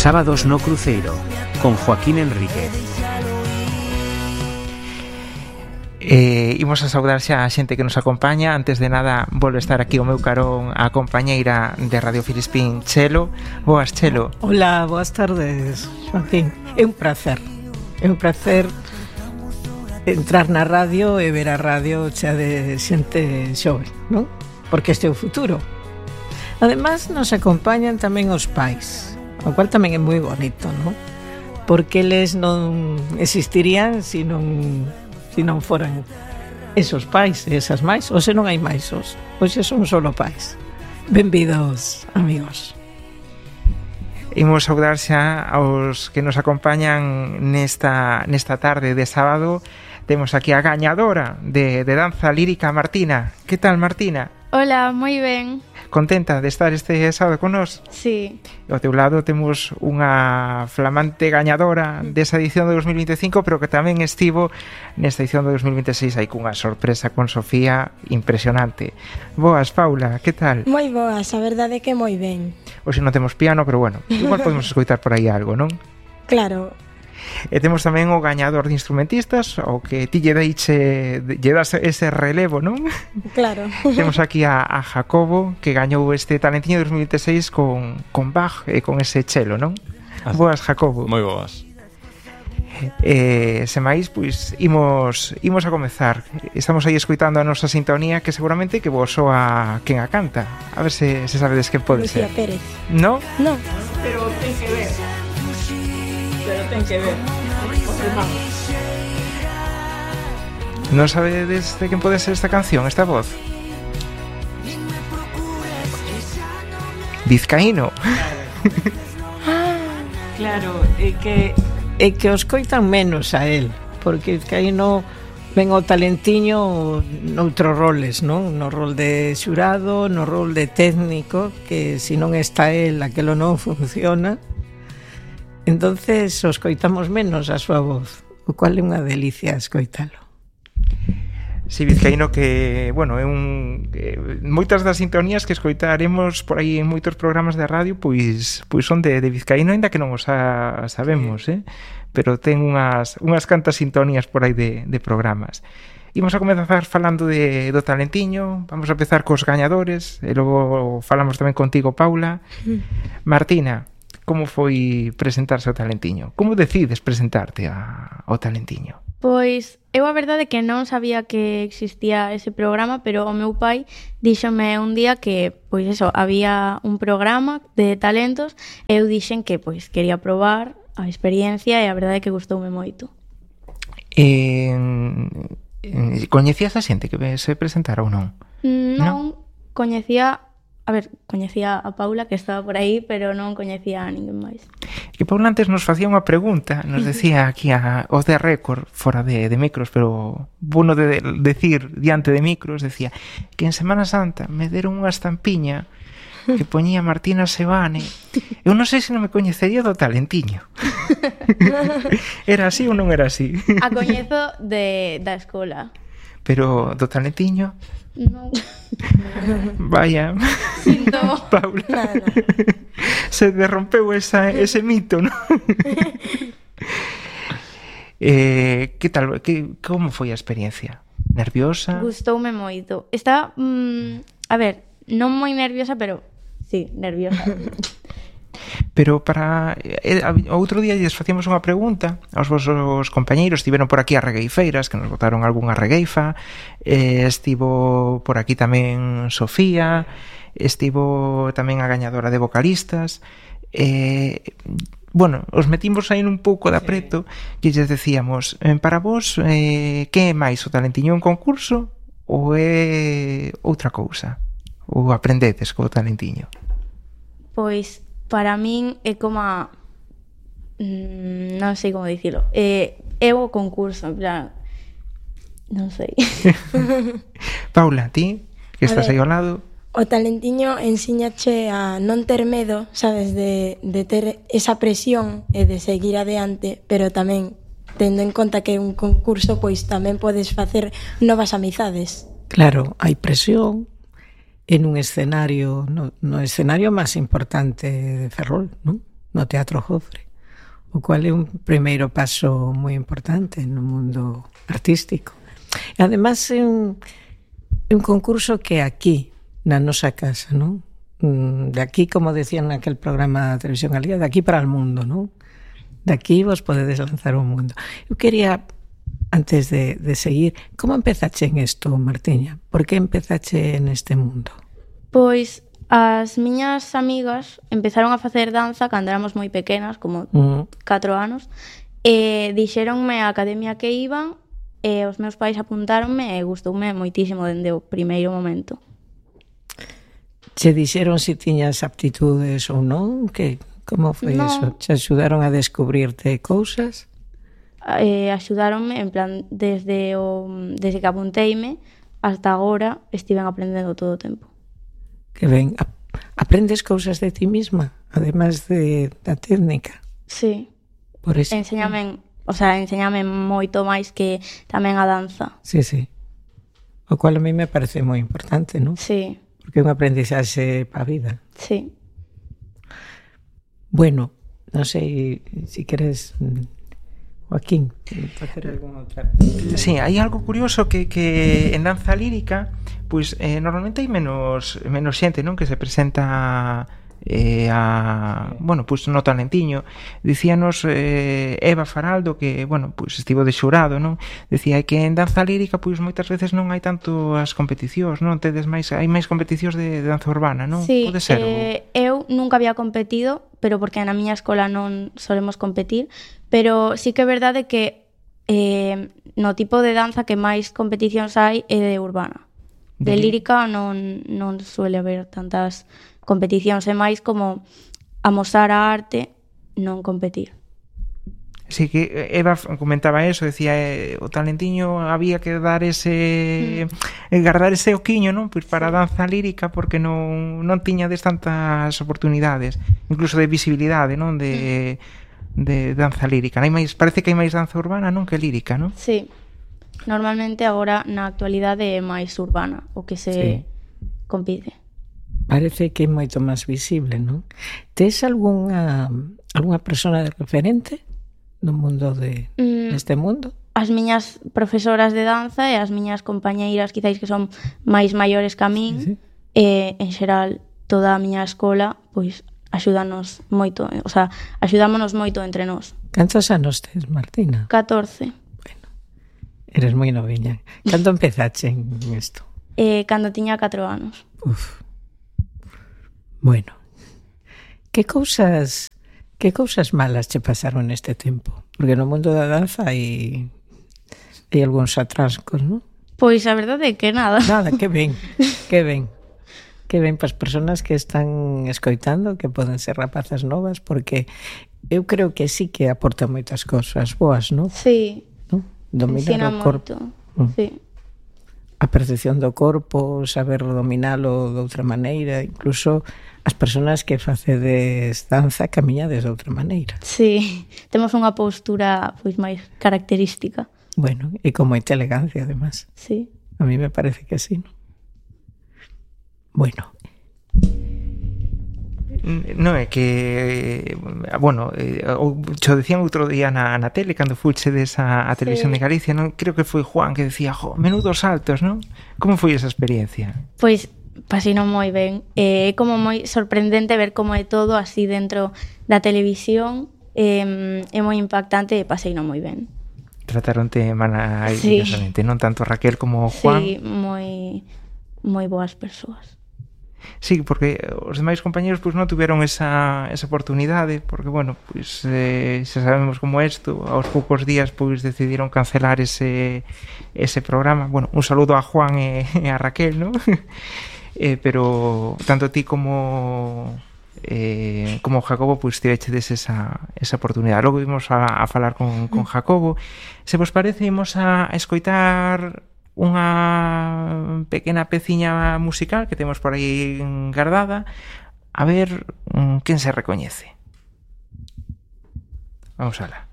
Sábados no Cruceiro, con Joaquín Enríquez. Imos a saudar xa a xente que nos acompaña. Antes de nada, volve estar aquí o meu carón a compañeira de Radio Filispín, Chelo. Boas, Chelo. Hola, boas tardes, Joaquín. É un placer entrar na radio e ver a radio xa de xente xove, non? Porque este é o futuro. Ademais, nos acompañan tamén os pais, o cual tamén é moi bonito, non? Porque eles non existirían se non foran esos pais e esas máis, ou se non hai máis, hoxe son solo pais. Benvidos, amigos. Imos saudar xa aos que nos acompañan nesta tarde de sábado. Temos aquí a gañadora de danza lírica, Martina. Que tal, Martina? Hola, moi ben. Contenta de estar este sábado con nós? Sí. Ao teu lado temos unha flamante gañadora desa edición de 2025, pero que tamén estivo nesta edición de 2026 aí cunha sorpresa con Sofía impresionante. Boas, Paula, que tal? Moi boas, a verdade é que moi ben. Hoxe non temos piano, pero bueno, igual podemos escoitar por aí algo, non? Claro. E temos tamén o gañador de instrumentistas, o que ti lle das ese relevo, non? Claro. Temos aquí a Jacobo, que gañou este Talentiño 2026 con Bach e con ese chelo, non? Boas, Jacobo. Moi boas. Se máis, pois, imos a comezar. Estamos aí escoitando a nosa sintonía, que seguramente que vos soa quen a canta. A ver se sabedes quen pode Lucía ser. Pérez. No? No. Pero ten que ver. Non sabedes de quen pode ser esta canción, esta voz? Vizcaíno. Claro, é que os coitan menos a él, porque aí no ven o talentiño noutros roles, non? No rol de xurado, no rol de técnico, que se non está él, aquelo non funciona. Entonces os coitamos menos a súa voz, o cual é unha delicia escoitalo. Si, Vizcaíno, que, bueno, é moitas das sintonías que escoitaremos por aí en moitos programas de radio, pois son de Vizcaíno, aínda que non os sabemos, pero ten unhas cantas sintonías por aí de programas. Imos a comezar falando do Talentiño. Vamos a empezar cos gañadores e logo falamos tamén contigo, Paula. Martina, como foi presentarse ao Talentiño? Como decides presentarte ao Talentiño? Pois eu a verdade que non sabía que existía ese programa, pero o meu pai díxome un día que, pois eso, había un programa de talentos e eu dixen que, pois, quería probar a experiencia e a verdade é que gustoume moito. Coñecías a xente que se presentara ou non? Non coñecía... A ver, coñecía a Paula, que estaba por aí, pero non coñecía a ninguén máis. Que Paula antes nos facía unha pregunta, nos decía aquí os de récord, fora de micros, pero bueno de decir diante de micros, decía que en Semana Santa me deron unha estampiña que poñía Martina Sebane. Eu non sei se non me coñecería do Talentiño. Era así ou non era así? A coñezo da escola. Pero do Talentiño? Non. Vaya. Sinto. Paula. Nada. Se derrompeu ese mito, ¿no? Que tal? Como foi a experiencia? Nerviosa? Gustoume moito. Estaba, a ver, non moi nerviosa, pero sí, nerviosa. Pero outro día lles facíamos unha pregunta aos vosos compañeiros. Estiveron por aquí as regueifeiras, que nos botaron algunha regueifa. Estivo por aquí tamén Sofía. Estivo tamén a gañadora de vocalistas. Bueno, os metimos aí un pouco de apreto e lles decíamos, para vos, que é máis o Talentiño, un concurso ou é outra cousa? Ou aprendedes co Talentiño? Pois para min é como non sei como dicilo, é o concurso, en plan, non sei. Paula, ti que estás aí ao lado, o Talentiño ensíñache a non ter medo, sabes, de ter esa presión e de seguir adiante, pero tamén tendo en conta que é un concurso, pois tamén podes facer novas amizades. Claro, hai presión en un escenario, no escenario máis importante de Ferrol, non? no Teatro Jofre, o cual é un primeiro paso moi importante no mundo artístico. E ademais é un concurso que aquí, na nosa casa, non? De aquí, como decían naquel programa de Televisión Galega, de aquí para o mundo, non? De aquí vos podedes lanzar o mundo. Eu quería, antes de seguir, como empezache en isto, Martiña? Por que empezache neste mundo? Pois as miñas amigas empezaron a facer danza cando éramos moi pequenas, como 4 anos, e dixéronme a academia que iban, e os meus pais apuntáronme e gustoume moitísimo dende o primeiro momento. Che dixeron se tiñas aptitudes ou non? Como foi eso? Che axudaron a descubrirte cousas? Axudáronme, en plan, desde que apunteime hasta agora estiven aprendendo todo o tempo. Que ben, aprendes cousas de ti misma, además da técnica. Sí. Por eso. Enséñame moito máis que tamén a danza. Sí. O cual a mí me parece moi importante, non? Sí. Porque é un aprendizaxe pa vida. Sí. Bueno, non sei se queres, Joaquín, facer algunha outra. Sí, hai algo curioso que en danza lírica pois normalmente hai menos xente, non, que se presenta pois no talentiño. Dicíanos Eva Faraldo que, pois estivo de xurado, non? Decía que en danza lírica pois moitas veces non hai tanto as competicións, non? Hai máis competicións de danza urbana, non? Sí, pode ser? Eu nunca había competido, pero porque na miña escola non solemos competir, pero sí que é verdade que no tipo de danza que máis competicións hai é de urbana. De lírica non suele haber tantas competicións, é máis como amosar a arte, non competir. Sí, que Eva comentaba eso, decía o talentiño había que dar guardar ese oquiño, non? Pois para a danza lírica, porque non tiñades tantas oportunidades, incluso de visibilidade, non? De danza lírica. Parece que hai máis danza urbana, non, que lírica, non? Sí. Normalmente agora na actualidade é máis urbana o que se compite. Parece que é moito máis visible, non? Tes algunha persona de referente no mundo neste mundo? As miñas profesoras de danza e as miñas compañeiras, quizáis que son máis maiores que a min, e en xeral toda a miña escola, pois axúdanos moito, axudámonos moito entre nós. Cantos anos tes, Martina? 14. Eres moi noviña. Cando empezache en isto? Cando tiña 4 anos. Bueno, que cousas malas che pasaron neste tempo? Porque no mundo da danza hai algúns atrascos, non? Pois a verdade é que nada. Nada, que ben. Que ben para as persoas que están escoitando, que poden ser rapazas novas, porque eu creo que sí que aporta moitas cousas boas, non? Sí. Dominar o corpo. Sí. A percepción do corpo, saber dominalo de outra maneira, incluso as persoas que facedes danza camiñades de outra maneira. Sí, temos unha postura pois máis característica. Bueno, e con moita elegancia, además. Sí. A mí me parece que sí, ¿no? Bueno. Non é que cho decían outro día na tele cando fuchedes a Televisión de Galicia, non? Creo que foi Juan que decía, menudos saltos, non? Como foi esa experiencia? Pois pasino moi ben, é como moi sorprendente ver como é todo así dentro da televisión, é moi impactante e paseino moi ben. Trataronte maravillosamente, non tanto Raquel como Juan? Sí, moi boas persoas. Sí, porque os demais compañeros pois non tiveron esa oportunidade, porque pois xa sabemos como é isto, aos poucos días pois decidiron cancelar ese programa. Un saludo a Juan e a Raquel, ¿no? Pero tanto ti como Jacobo pois tivechedes esa oportunidade. Logo vimos a falar con Jacobo. Se vos parece, imos a escoitar unha pequena peciña musical que temos por aí guardada, a ver quen se recoñece. Vamos alá.